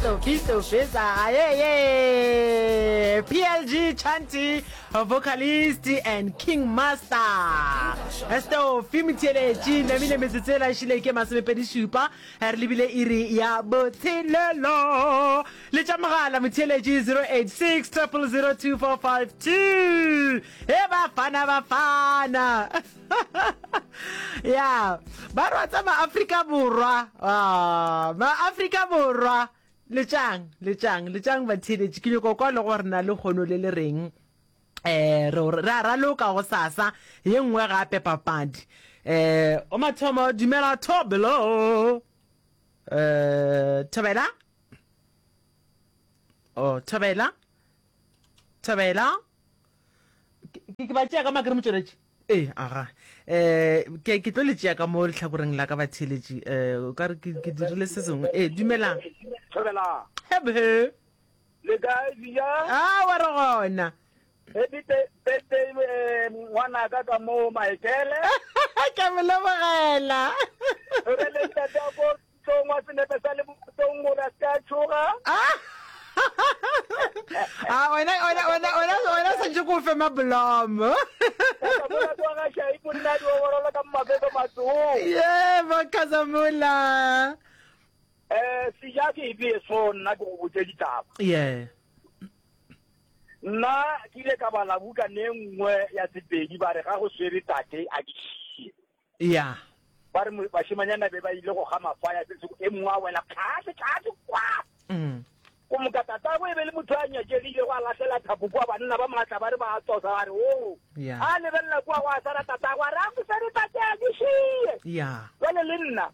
Stofi Stofisa ayeye PLG Chanty vocalist and King Master Stofi motheeletši namile metsotso e lašile ke masomepedi šupa re lebile iri ya botshelelo letša mogala motheeletši 086 000 2452 e bafana bafana ya ba rwatsa maafrika borwa ah, maafrika borwa letšang letšang letšang batheeletši ke nyoko kwa le gore na le kgono le le reng eh re re a raloka go sasa ye nngwe gape papadi eh o mathomo dumela thobelo eh thobela oh thobela thobela ke ba tšea ka makere motšweletši ee aga um ke ke tlo le tšea ka mo letlhakoreng la ka batheeletši um o ka re ke dirile se sengwe ee dumelang Thobela. hebe Le kae Vija? a wa re gona Happy birthday eh, ngwanaka ka mo Michael. ke mo lebogela Re le ntate wa ko Tlong wa senepe sa lebotong gore a se ka tšhoga. Ah! Ah, wena wena wena wena wena santse ko fe mablomo. Kazamula kwa ga Shai monna di oborola ka mafeto matsong. Yeah, ba Kazamula. Eh, seja ke e so nna ke go botse ditaba. Yeah. Nna ke ile ka bala buka ne nngwe ya Sepedi ba re ga go swere tate a ke šie. Ya. Ba re bašemanyana be ba ile go ga mafaya se sengwe, e mongwe a wela tlase, tlase kwa. Mm. Go moka tatagwe e be le motho a nyatšegile go a lahlela thapo kua, banna ba maatla ba re ba a tosa ba re o. Ya. A lebelela kua go a sala tatagwe a re a go swere tate a ke šie. Ya. Jwale le nna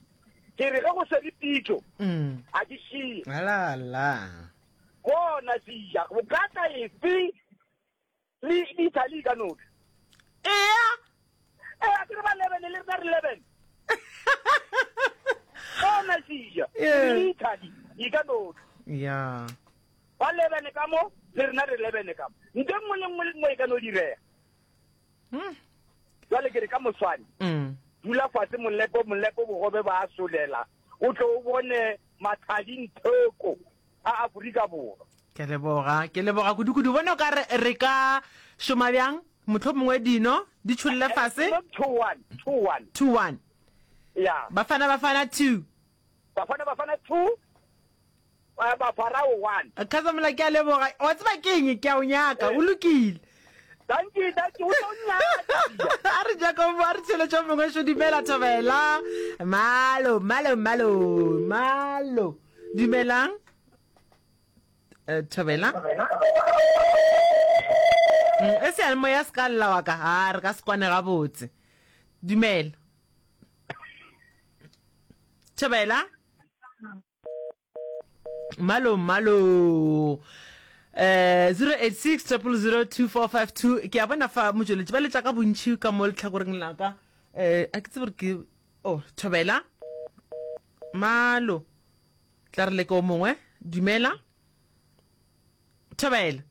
ke re ge go swere pitšo Mm. a ke šie. La la. Bona seja go ka tla efe Le le Italy ka noka. Ea. Ee, a ke re ba 11 le rena re 11. Bona Sia, Yeah. le Italy e ka noka. Ya. Ba 11 ka mo, le rena re 11 ka mo. Nto e nngwe le nngwe le nngwe e ka no direga. Mm. Jwale ke re ka moswane, Mm. dula fatshe molepo molepo bogobe ba a solela, o tlo o bone mathadi ntheko. a Aforika Borwa. Ke leboga, ke leboga kudu-kudu. Bona o ka re re ka šoma bjang? Mohlomongwe dino di tšholle fase. 2-1, 2-1. 2-1. Ya. Bafana Bafana 2. Bafana Bafana 2. Bafarao 1. Khazamola ke a leboga. Wa tseba ke eng? Ke a o nyaka. O lokile. Dankie, dankie, o tlo nyaka. A re Jacob, a re tšheletšo mongwe šo dumela thobela. Malo, malo, malo, malo. Dumelang. Eh, thobela. Mm, e seyalemoya se ka lla wa ka. Ha, re ka se kwane gabotse. Dumela. Thobela. Malo, malo. Eh, 086 000 2452 ke a bona fa motšweletši ba letša ka bontši ka mo letlhakoreng la ka. Eh, a ke tsebe gore ke oh, thobela. Malo. Tla re leke o mongwe. Dumela. Thobela.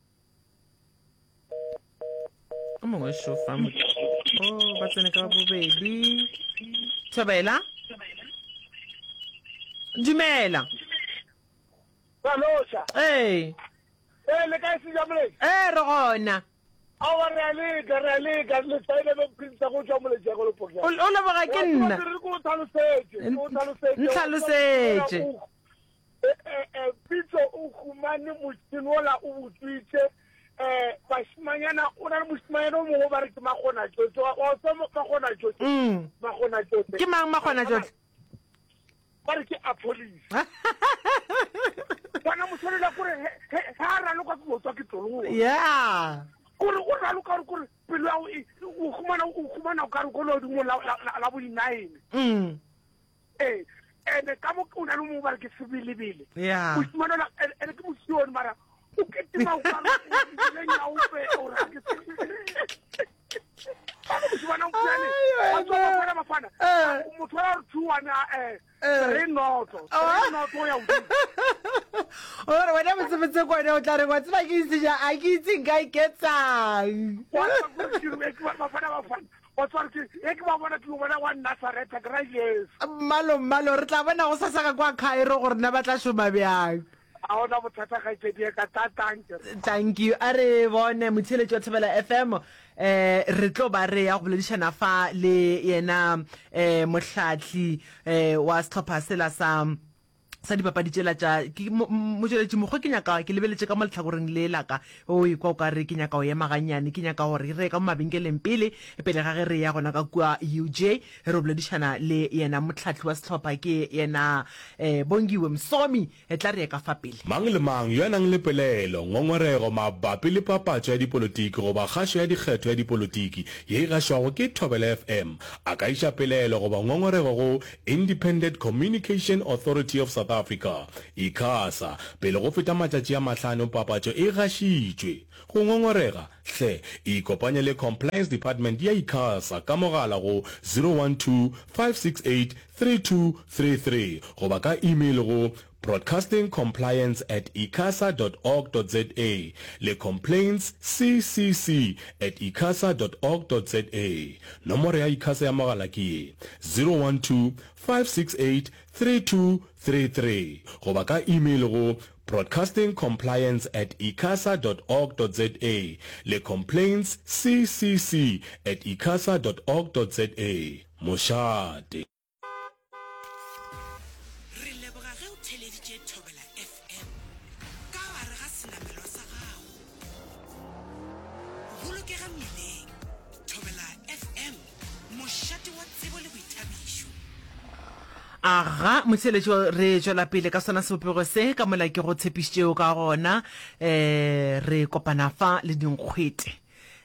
O mongwe šo fa. Oh, ba tsene ka bobedi. Thobela. Dumela. Baloša. Ee. Ee, le kae Sejamoleng? Ee, re gona. Aowa, re a leka, re a leka. Le saile be Prince go tšwa Moletšego le Pokela. O o leboga ke nna. Re ko tlhalosetše, ko tlhalosetše. Ntlhalosetše. Eh, eh, eh, Pitso o humane motšhini ola o botswitše eh bashimanyana o na le moshimanyana o mongwe ba re ke makgona tšohle wa tseba makgona tšohle mm. makgona tšohle ke mang makgona tšohle ba re ke a police bona motshwanela kore ge a raloka ke motswa ke tloloa yeah kore o raloka gore kore pelo ya e, o humana o humana o kare ko legodimo la bo di-nine mm. ee ene ka mo o na le mongwe ba re ke sebelebele yeah mosimanola ene ke mosione mara o ketima o kare o nyaope o ra ke motho wa re thuane re noto re noto ya ore wena botsebotse kone o tla re wa tseba ke itse ja a ke itse nka iketsang mmalo mmalo re tla bona go sasa ka kwa Cairo gore na ba tla šoma bjang. A gona bothata kgaetšedi ya ka ta thank you. Thank you. A re bone motheeletši wa Thobela FM eh re tlo ba re ya go boledišana fa le yena eh mohlahli eh wa sehlopha sela sa sa dipapadi tšela tša ke motšweletši mokgwa ke nyaka ke lebeletše ka mo lehlakoreng le la ka o ikwa o ka re ke nyaka go ema gannyane ke nyaka gore re ye ka mo mabenkeleng pele pele ga ge re ya gona ka kua UJ re boledišana le yena mohlahli wa sehlopha ke yena eh Bongiwe Msomi Etla re ye ka fa pele. Mang le mang yo a nang le pelaelo, ngongorego mabapi le papatšo ya dipolotiki goba kgašo ya dikgetho ya dipolotiki ye e gašwago ke Thobela FM a ka iša pelaelo goba ngongorego go Independent Communication Authority of South Africa, ICASA, pele go feta matšatši a mahlano papatšo e gašitšwe. Go ngongorega, hle ikopanye le Compliance Department ya ICASA ka mogala go 012 568 3233 goba ka email go broadcastingcompliance at icasa dot org dot za le complaintsccc at icasa dot org dot za. Nomoro ya ICASA ya mogala ke ye, 012 568 3233 goba ka email go broadcastingcompliance at icasa dot org dot za le complaintsccc at icasa dot org dot za. Mošate. Re leboga ge o theleditše Thobela FM ka gare ga senamelwa sa gago. Bolokega mmileng. Thobela FM, mošate wa tsebo le boithabišo. Aga, motheeletši, re tšwela pele ka sona sebopego se ka mola ke go tshepišitšego ka gona. Um re kopana fa le dinkgwete.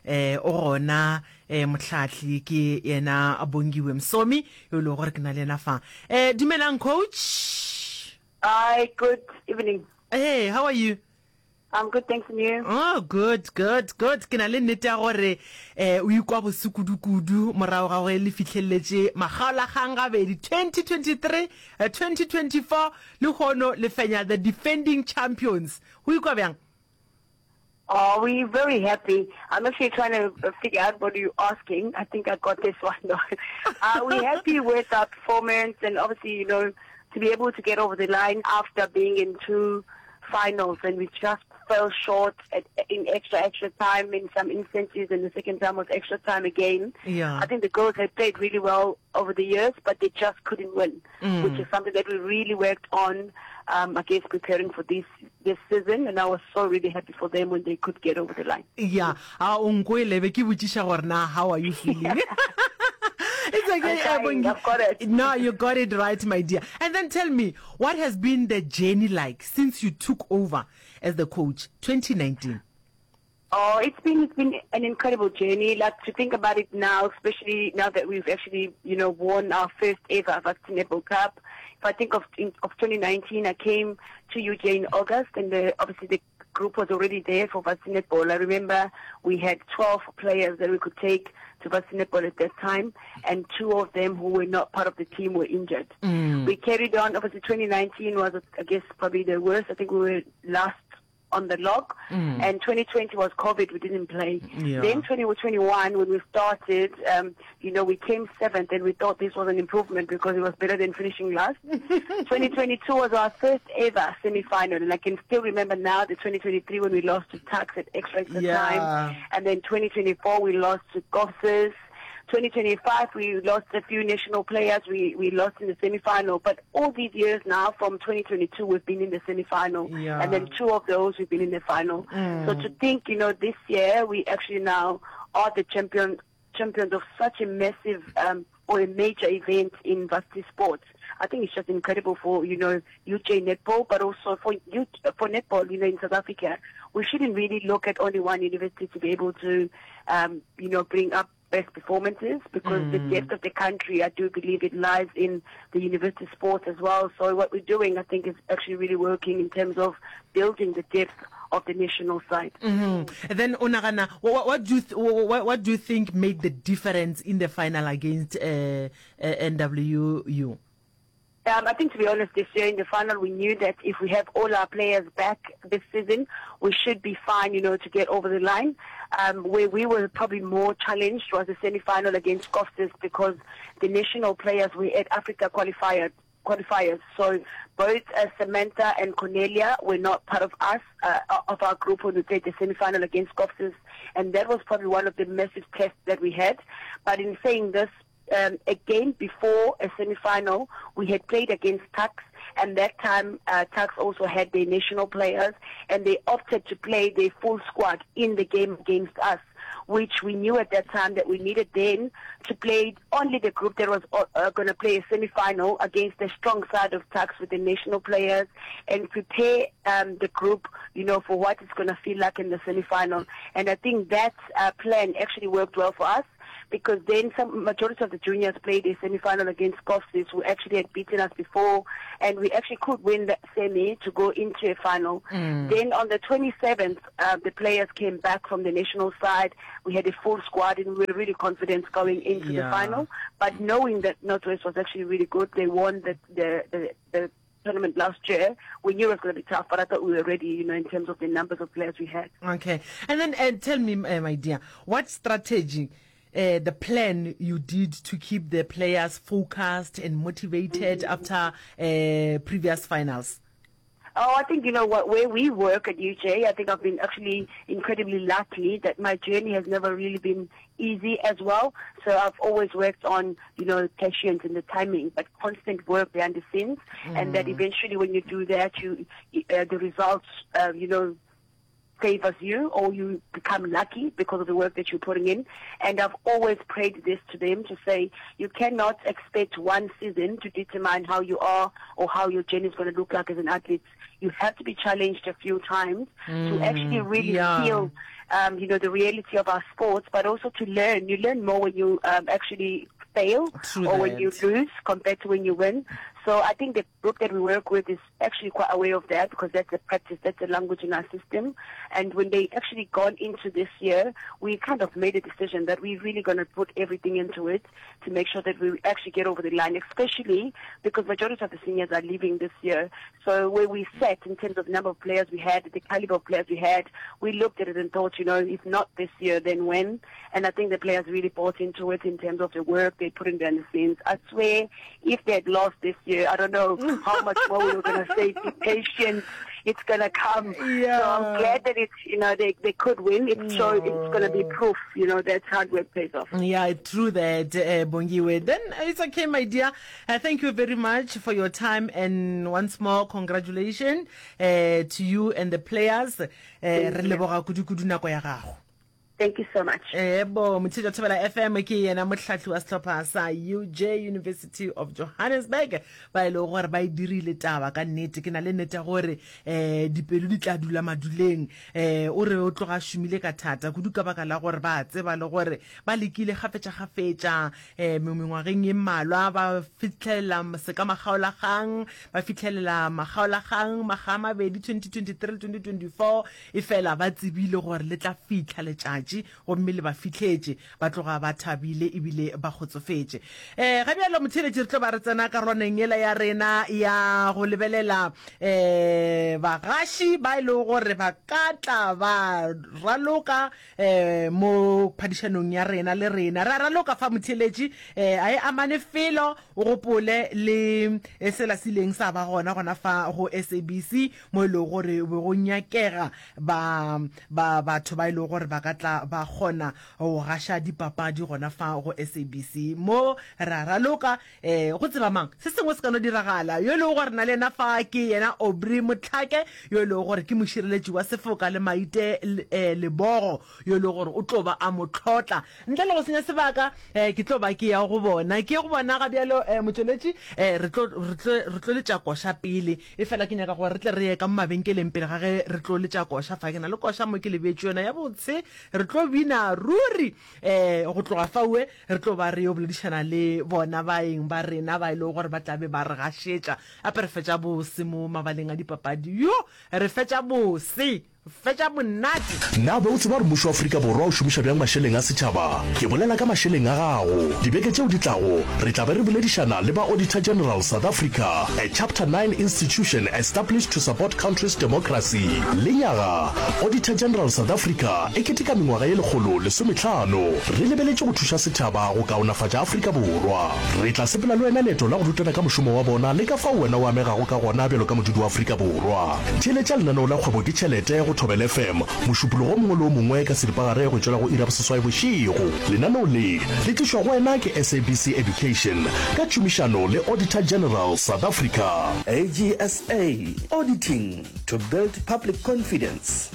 Eh, o gona eh, mohlahli ke yena Bongiwe Msomi yo e lego gore ke na le yena fa. Eh, dumelang coach. Hi, good evening. Hey, how are you? I'm good, thanks, and you? Oh, good, good, good. Ke na le nnete ya gore eh o ikwa bose kudu-kudu morago ga gore le fihleletše makgaolakgang gabedi 2023, eh, 2024 lehono le fenya the defending champions. O ikwa bjang? Oh, we're very happy. I'm actually trying to uh, figure out what you're asking. I think I got this one. Though. uh, we're happy with our performance and obviously, you know, to be able to get over the line after being in two finals and we just fell short at, in extra, extra time in some instances and the second time was extra time again. Yeah. I think the girls had played really well over the years, but they just couldn't win, mm. which is something that we really worked on, um, I guess, preparing for this, this season. And I was so really happy for them when they could get over the line. Yeah. A o nkwele be ke botšiša gore na how are you feeling? It's okay, I'm I've got it. No, you got it right, my dear. And then tell me, what has been the journey like since you took over as the coach, 2019? Oh, it's been it's been an incredible journey. Like to think about it now, especially now that we've actually you know won our first ever Varsity Netball Cup. If I think of in, of 2019, I came to UJ in August, and the, obviously the group was already there for Varsity Netball. I remember we had 12 players that we could take to Varsity Netball at that time, and two of them who were not part of the team were injured. Mm. We carried on. Obviously, 2019 was, I guess, probably the worst. I think we were last on the log. Mm. And 2020 was COVID, we didn't play. Yeah. Then 2021, when we started, um, you know, we came seventh and we thought this was an improvement because it was better than finishing last. 2022 was our first ever semi-final. And I can still remember now the 2023 when we lost to Tux at extra, extra yeah. time. And then 2024, we lost to Gossers. 2025, we lost a few national players. We, we lost in the semi-final. But all these years now, from 2022, we've been in the semi-final. Yeah. And then two of those, we've been in the final. Mm. So to think, you know, this year, we actually now are the champion, champions of such a massive um, or a major event in varsity sports. I think it's just incredible for, you know, UJ netball, but also for U, for netball, you know, in South Africa. We shouldn't really look at only one university to be able to, um, you know, bring up best performances because mm. the depth of the country, I do believe it lies in the university sports as well. So what we're doing, I think, is actually really working in terms of building the depth of the national side. Mm -hmm. And then Onagana, what, what do you what, what do you think made the difference in the final against uh, uh, NWU? Um, I think, to be honest, this year in the final, we knew that if we have all our players back this season, we should be fine, you know, to get over the line. Um, where we were probably more challenged was the semi-final against Kovsies because the national players were at Africa qualifier. qualifiers. So both uh, Samantha and Cornelia were not part of us, uh, of our group when we played the semi-final against Kovsies, and that was probably one of the massive tests that we had. But in saying this, um, again before a semi-final, we had played against Tuks, and that time uh, Tuks also had their national players, and they opted to play their full squad in the game against us which we knew at that time that we needed then to play only the group that was uh, uh going to play a semi-final against the strong side of Tuks with the national players and prepare um, the group, you know, for what it's going to feel like in the semi-final. And I think that uh, plan actually worked well for us because then some majority of the juniors played a semi-final against Kovsies, who actually had beaten us before, and we actually could win that semi to go into a final. Mm. Then on the 27th, uh, the players came back from the national side. We had a full squad, and we were really confident going into yeah. the final. But knowing that Northwest was actually really good, they won the the, the, the tournament last year, we knew it was going to be tough, but I thought we were ready, you know, in terms of the numbers of players we had. Okay. And then uh, tell me, uh, my dear, what strategy, uh, the plan you did to keep the players focused and motivated mm -hmm. after uh, previous finals? Oh, I think, you know what, where we work at UJ, I think I've been actually incredibly lucky that my journey has never really been easy as well. So I've always worked on, you know, patience and the timing, but constant work behind the scenes. Mm. And that mm. eventually when you do that, you, uh, the results, uh, you know, favors you or you become lucky because of the work that you're putting in. And I've always prayed this to them to say you cannot expect one season to determine how you are or how your journey is going to look like as an athlete. You have to be challenged a few times mm, to actually really yeah. feel um, you know, the reality of our sports, but also to learn. You learn more when you um, actually fail True or that. when you lose compared to when you win. So I think the group that we work with is actually quite aware of that because that's a practice, that's a language in our system. And when they actually gone into this year, we kind of made a decision that we're really going to put everything into it to make sure that we actually get over the line, especially because majority of the seniors are leaving this year. So where we sat in terms of number of players we had, the caliber of players we had, we looked at it and thought, you know, if not this year, then when? And I think the players really bought into it in terms of the work they put in behind the scenes. I swear, if they had lost this year, I don't know how much more we were going to say, be patient, it's going to come. Yeah. So I'm glad that it's, you know, they, they could win. It's so it's going to be proof, you know, that hard work pays off. Yeah, true that, uh, Bongiwe. Then uh, it's okay, my dear. Uh, thank you very much for your time and once more, congratulations uh, to you and the players. Uh, re leboga kudu-kudu nako ya gago. Thank you so much. Ebo, Motheetša Thobela FM ke yena mohlahli wa sehlopha sa UJ University of Johannesburg ba e lego gore ba e dirile taba ka nnete. Ke na le nnete ya gore um dipelo di tla dula maduleng. Um o re o tloga a šomile ka thata kudu ka baka la gore ba tseba le gore ba lekile kgafetša-kgafetša um mengwageng ye mmalwa ba fihlelela sekamakgaolakgang, ba fihlelela makgaolakgang makga a mabedi 2023 le 2024. Efela ba tsebile gore le tla fihla letšatši, gomme le ba fihletše. Ba tloga ba thabile ebile ba kgotsofetše. E, ga bjalo, motheeletši, re tlo ba re tsena karolwaneng yela ya rena ya go lebelela e, bagaši ba e lego gore ba ka tla ba raloka e, mo phadišanong ya rena le rena. Re a raloka fa, motheeletši, e, a e amane felo, o gopole le sela se ileng sa ba gona gona fa go SABC mo e lego gore be go nyakega ba, ba batho ba e lego gore ba ka tla ba kgona go gaša dipapadi gona fa go SABC. Mo re a raloka, eh, go tseba mang, se sengwe se ka no diragala. Yo e lego gore na le yena fa ke yena Aubrey Motlhake, yo e lego gore ke mošireletši wa sefoka le Maite, eh, Lebogo, yo e lego gore o tlo ba a mo hlotla. Ntle le go senya sebaka, eh, ke tlo ba ke ya go bona. Ke ye go bona ga bjalo, eh, motšweletši, eh, re tlo, re tlo, re tlo letša koša pele. Efela ke nyaka gore re tle re ye ka mo mabenkeleng pele ga ge re tlo letša koša fa. Ke na le koša mo ke le beetše yona ya botse. Re tlo bina ruri. Eh, go tloga faue re tlo ba re yo boledišana le bona baeng ba rena ba e lego gore ba tla be ba re gašetša. Gape re fetša bose mo mabaleng a dipapadi. Yo, re fetša bose! Fetša monate. Na be o tseba gore mmušo wa Afrika Borwa o šomiša bjang mašeleng a setšhaba? Ke bolela ka mašeleng a gago. Dibeke tšeo di tlago, re tla be re boledišana le ba Auditor General South Africa, a Chapter 9 institution established to support country's democracy. Lenyaga, Auditor General South Africa e keteka mengwaga ye 150 re lebeletše go thuša setšhaba go kaonafatša Afrika Borwa. Re tla sepela le wena leeto la go rutana ka mošomo wa bona le ka fao wena o amegago ka gona bjalo ka modudi wa Afrika Borwa. Theeletša lenaneo la Kgwebo ke Tšhelete go Thobela FM Mošupologo o mongwe le o mongwe ka seripagare go tšwela go iri ya boseswai bošego. Lenaneo le le tlišwa go wena ke SABC Education ka tšhomišano le Auditor General South Africa. AGSA, Auditing to build public confidence.